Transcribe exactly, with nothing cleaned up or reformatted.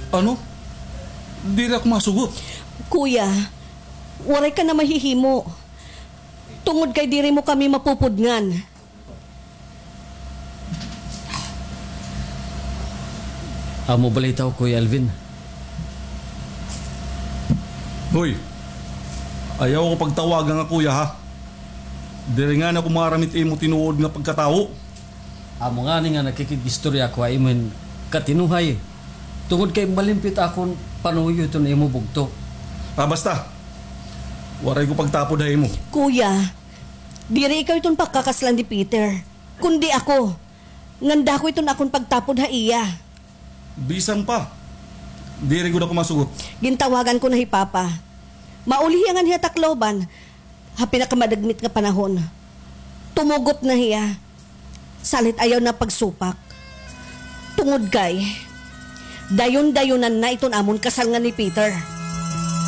Ano? Diri ako masugot. Kuya, waray ka na mahihimo. Tungod kay diri mo kami mapupudngan. Amo balitaw, Kuya Alvin. Hoy, ayaw ko pagtawagan nga kuya, ha? Diri ngani ako maaram it imo tinuod nga pagkatawo. Amo ngani nga nakikig-istorya ako ha imo hin katinuhay. Tungod kay malimpyo it akon panuyo hiton imo bugto. Ah, basta. Waray ko pagtapod ha imo. Kuya, diri ikaw iton pakakaslan ni Peter, kundi ako. Ngan dako iton akon pagtapod ha iya. Bisan pa. Diri gud ako masugot. Gintawagan ko na hi Papa. Mauli hiya nganhi ha Tacloban, ha pinakamadagmit nga panahon. Tumugot na hiya. Salit ayaw na pagsupak. Tungod kay, dayon-dayonan na iton amon kasal ngan ni Peter.